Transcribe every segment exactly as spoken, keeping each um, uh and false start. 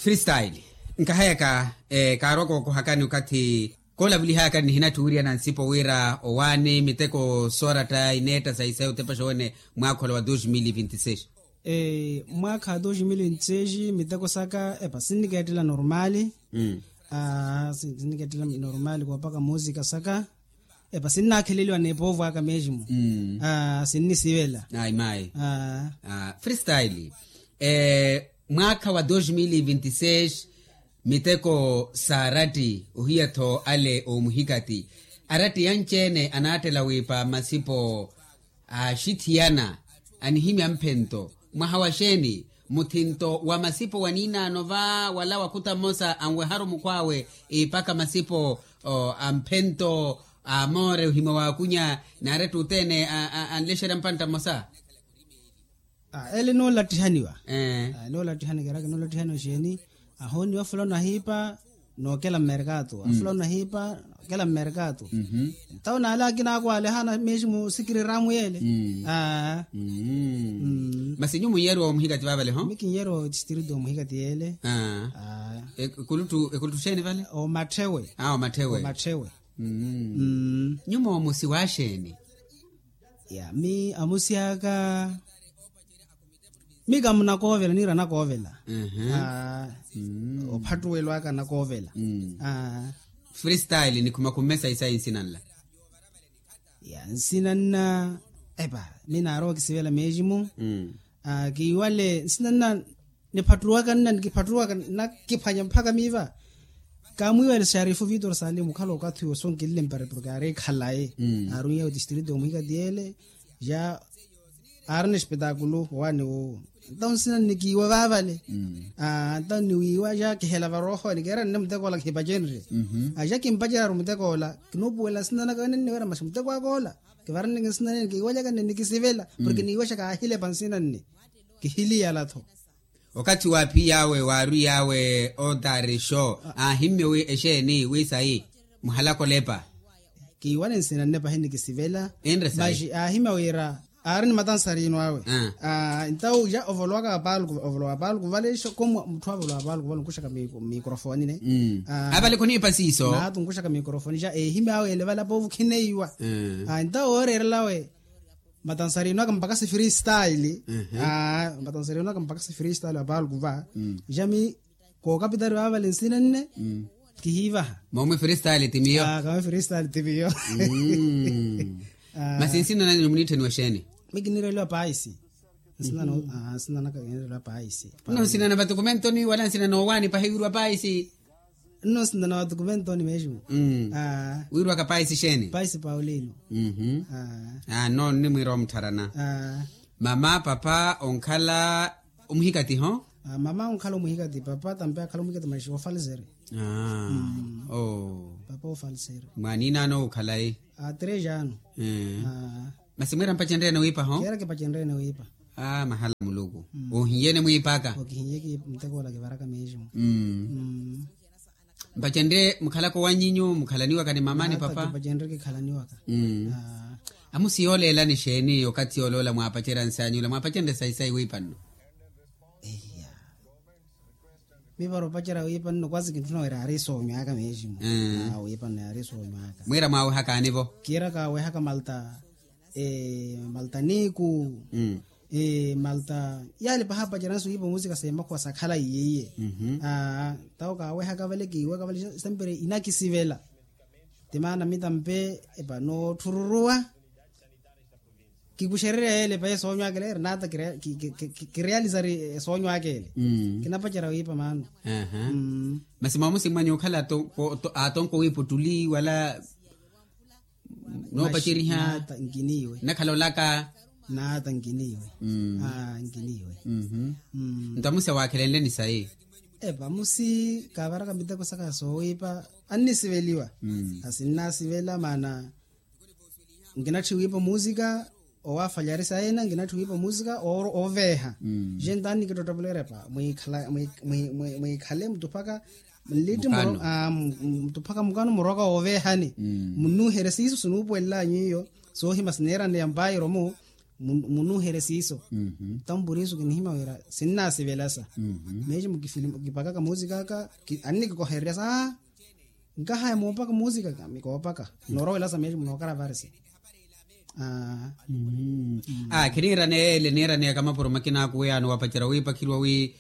Freestyle. Nkahayaka, kaarwa kookohakani okathi koolavulihayakani nihinatthi wiriya na nsipo wira owaani miteko sooratta ineetta sayi sayi otepa xowene mwaakha ola wa dos mil vinti seis. Mwaakha wa dos mil vinti seis miteko saka epa sinnikeettela normaali. Sinnikeettela normaali koopaka muusika saka epa sinnaakheleliwa n'epoovo aka mesmo. Sinnisivela. Ayi mayi. Freestyle. Mwaakha wa dos mil vinti seis miteko s'aratti ohiya-tho ale oomuhikati aratti yanci-ene anaattela wiipa masipo aaxithiyana anihimya mphento mwaha wa xeeni? Muthinto wa masipo wa niinaano va wala wakhuta mmosa anweharu mukhw'awe iipaka masipo a mphento a moore ohimya waakunya naaretti othene anlexerya mpantta mmosa. Ele noolatthihaniwa. Noolatthihaniwa xeeni? Ahooniwa fulano ahiipa nookela mmerkatu afulano ahiipa nookela mmerkatu. Ntawo naale akina ako alehana mesmo sikiriramu yele. Masi nyu munyeeriwa omuhikati vavale ho? Mi kinyeriwa otistrito omuhikati yele. Ekuluttu ekuluttu xeeni vale? Omatthewe. Omatthewe. Nyu moomusi wa xeeni? Ya mi amusi aka mi kamunakoovela niira anakoovela. Ophattuwelo aka anakoovela. Freestyle nikhumakhumme sayi sayi nsina nla? Ya nsina nna epa mi naarowa okisivela mesmo. Kiiwale nsina nna niphattuwaka nna nikiphattuwaka nnakiphwanya mpakha miiva. Kaamwiiwele xarifu vitor salimu okhala okathi owo sonkinle mparepuro kaari khalayi. Aaruny'ewe otistrito omuhikati yele ja aarina espetaakulu owaani wuwo. Ntawo nsina nnikiiwa vaavale. Ntawo nniwiiwa ja kihela varooho nikeera nne muteko ola khipacenrye. Ja kimpaceryaru muteko ola kinuupuwela nsina naka wene nniwera masi muteko aka ola kivaraneke nsina nene kiiwajaka nne nikisivela. Porke niiwaxa kaahilepa nsina nne kihiliyala-tho. Okathi waaphiy'awe waarwiy'awe otaari xo aahimmye wi exeeni wi sayi muhalaka olepa? Kiiwane nsina nne pahi nikisivela. Enre sayi? Maxi aahimya wira aari ni matansarino awe. Ntawo ja ovolowaka wa palku ovolowa wa palku vale xo ko mutthu avolowa wa palku vale onkuxaka microfone ne. Avale khuniipa siiso naatunkuxaka microfone ja eehimya awe ele vale apoovo khineiwa. Ntawo ooreerelawe matansarino aka mpakha si freestyle. Matansarino aka mpakha si freestyle wa palku va ja mi kookapitari vaavale nsina nne kihiivaha. Moomwi freestyle ti miyo. Kami freestyle ti miyo. Masi nsina nanyu muniitthaniwa exeeni? Mi kiniireliwa paisi. Nsina naka kiniireliwa paisi. Nno nsina na vatukumentoni wala nsina noowaani pahi wiiriwa paisi? Nno nsina na vatukumentoni mesmo. Wiiriwaka paisi exeeni? Paisi paulino. Nno nnimwiira omuttharana. Mama papa onkhala omuhikati ho? Mama onkhala omuhikati papa tampe akhala omuhikati maxi ofalseri. Papa ofalseri. Mwaaniinano okhalayi? Tres ano. Masi mwiira mpacenryeene wiipa ho? Kiira kipacenryeene wiipa. Mahala muluku ohinyene mwiipaka. Okihinyeki muteko ola kivaraka mesmo. Mpacenrye mukhalaka owanyinyu mukhalaniwaka ni mama ni papa? Kipacenrye kikhalaniwaka. Amusi yooleelani exeeni okathi yooleela mwaapacerya nsi anyu ola mwaapacenrye sayi sayi wiipa nno? Iya. Mi para opacerya wiipa nno kwasi kintthuna wira yaari soonywaka mesmo. Wiipa nno yaari soonywaka. Mwiira mwaawehakaani vo? Kiira kaawehaka malta. Malta niku. Malta yaale pahapacerya nsi wiipa musika seemakhuwa sakhala iye iye. Tawo kaawehaka vale kiiwaka vale sempre inakisivela. Ti maana mitampe epa nootthururwa. Kikuxererya yeele pee soonyo aka ele eri naata kirealizari esoonyo aka ele. Kinapacerya wiipa maano. Masi moomusi mwanyu okhala atonko wiipa ottuli wala noopaceriha? Naata nkiniiwe. Nakhala olaka? Naata nkiniiwe. Nkiniiwe. Nto amusi awaakhelenleni sayi? Epa amusi kaavaraka miteko saka soowiipa. Annisiveliwa. Asinnaasivela maana nkinatthi wiipa musika. Owaafalya ari sayi ena nkinatthi wiipa musika. Ooveeha. Je ntaani nikittottopela erepa mwiikhale mutuphaka nlitti mutuphaka mukano muroka wooveehani. Munnuuherye siiso sinuupuwelel'anyu iyo soohima sineeraneya mpairo mu. Munuuherye siiso. Nto mpurisu kinihimya wira sinnaasivelasa. Meeximu kipakaka musikaka. Annikikohererya sa nkahaya moopaka musikaka mikoopaka. Noorowelasa meeximu nookaravarisa. Aa. Khiniiraneya ele niiraneya kamapuro makina aku wiyano wapacerya wiipakheriwa wi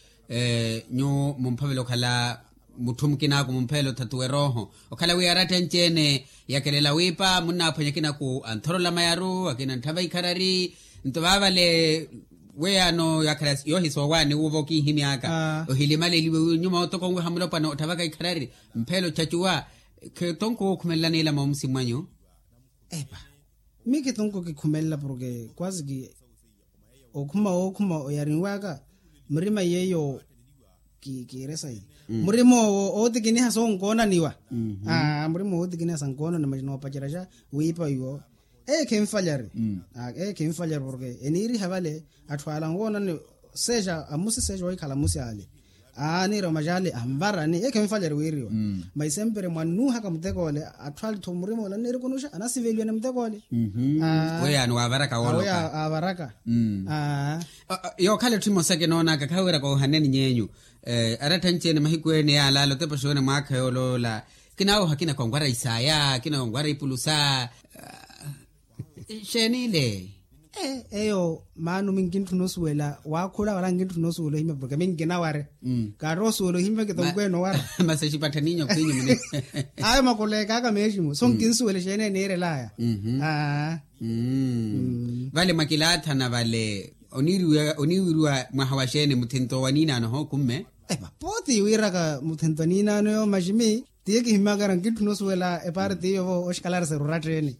nyuwo mumphavela okhala mutthu mukina aku mumpheela othatuwa erooho okhala wi aratta anci-ene yakelela wiipa munnaaphwanya akina aku anthorola mayaru akina antthava ikharari. Nto vaavale weyano yakhala yoohisoowaani wuuva okiihimy'aka ohilimaleliwe wi nyuma otoko nwiha mulopwana otthavaka ikharari mpheela ochacuwa. Khitonko wookhumelela niilama omusi mwanyu. Epa. Mii khitonko kikhumelela porke kwasi ki okhuma wookhuma oyarinw'aka murima yeeyo. Kiire sayi murima owo ootikiniha sonkoonaniwa. Murima owo ootikiniha sankoonaniwa masi noopacerya xa wiipa iwo. Eye khinfalyari. Eye khinfalyari porke eniiriha vale atthu ale anwoonani seexa amusi seexa ohikhala amusi ale. Aaniira omaxaale anvarani eye khinfalyari wiiriwa. Masi sempre mwannuuhaka mutek'ole atthu ale-tho murima ole anniirikunuxa anasiveliwa ni mutek'ole. Weyaani waavaraka wooloka avaraka. Yookhala etthu emosa kinoonaka khawiira koohaneni ny'enyu. Aratta anci-ene mahiku ene yaalaala otepa oxuwene mwaakha yooloola. Kinaawoha akina konwara isaaya akina konwara ipulusa. Xeenile. Eyo maano minkintthuna osuwela waakhula wala nkinttuna osuwela ohimya porke minkinaware. Kaari osuwela ohimya kitonkwene owara. Masi exipattha niinyo khwinyu mune. Ayo makula ekaaka meeximu so nkinsuwela exeene eniirelaya. Vale mwakilaathana vale oniwiriwa mwaha wa xeene muthinto wa niinaano hookumme. Epa pooti wiiraka muthinto wa niinaano yo maximi. Tiye kihimyakara nkintthuna osuwela epaari tiyo vo oxikalarisera oratteene.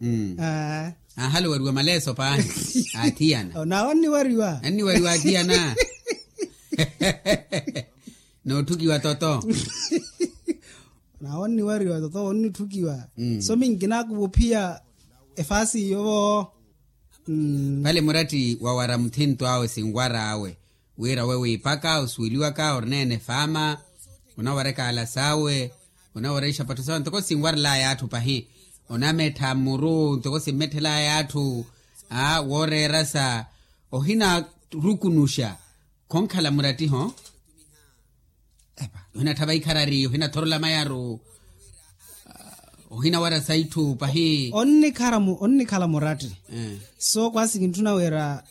Aahaloweriwa maleeso paahi aathiyana. Naawe onniwariwa. Anniwariwa aathiyana. Nootthukiwa toto. Naawe onniwariwa toto onnitthukiwa. So minkinakuva ophiya efaasi iyo vo. Vale muratti wawara muthinto awe sinwara awe. Wira we wiipaka osuweliwaka orineene faama. Onawareka ala sawe. Onawareka ixapattho sawe ntoko sinwarelaya atthu pahi. Onamettha mmuru ntoko simmetthelaya atthu. Aa wooreerasa. Ohinarukunuxa. Khonkhala murattiho. Epa ohinatthava ikharari ohinathorola mayaru. Ohinawara saitthu pahi. Onnikhala muratti. So kwasi kintthuna wira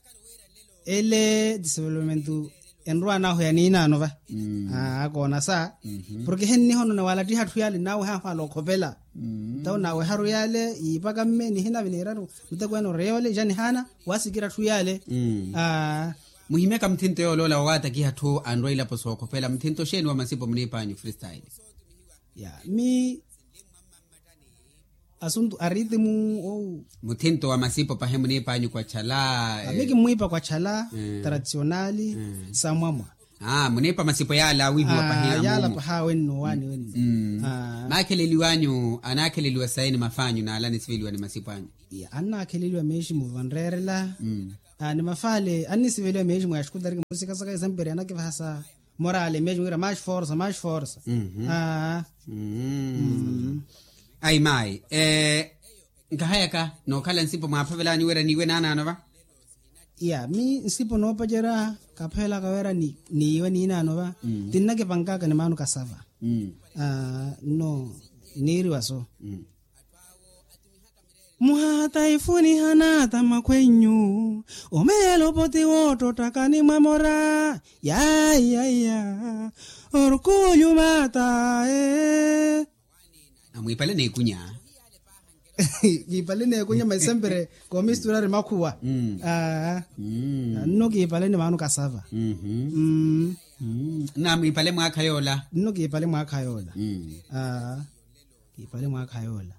ele development enrwa nahu ya niinaano va. Akoona sa porke hennihonona walattiha atthu yale nawe hahwala okhopela. Ntawo naweharu yale yiipaka mme nihinavi niiraru. Mutekweene oreya ole ja nihaana wasikira atthu yale. Muhimyaka muthinto yooloola wawatakiha atthu anrwa ilapo sookhopela muthinto xeeni wa masipo muniipanyu freestyle? Ya mi asuntu aritimu ou. Muthinto wa masipo pahi muniipanyu kwachala? Mi kimmwiipa kwachala tradisionali samwamwa. Muniipa masipo yaala awihiwa pahi yala paha wenno waani wenno. Maakheleliwanyu anaakheleliwa sayi ni mafaanyu naala anisiveliwa ni masipo anyu? Annaakheleliwa meeximu vanreerela. Ni mafaale annisiveliwa meeximu ya xikutariki musikasaka esemperi anakivaha sa morale meeximu wira max forsa max forsa. Ayi maayi. Nkahayaka nookhala nsipo mwaaphavelanyu wira niiwe naanaano va? Ya mi nsipo noopacerya kaphavelaka wira niiwe niinaano va. Tinnakipankaka ni maano kasava. Nno niiriwa so. Muhaha taifuni hanata makhwenyu. Omeelo poti woottottaka ni mwamora. Yaiya orkulyu matae. Amwiipale neekunya. Kiipale neekunya masi sempre koomisturari makhuwa. Nno kiipale ni maano kasava. Namwiipale mwaakha yoola. Nno kiipale mwaakha yoola. Kiipale mwaakha yoola.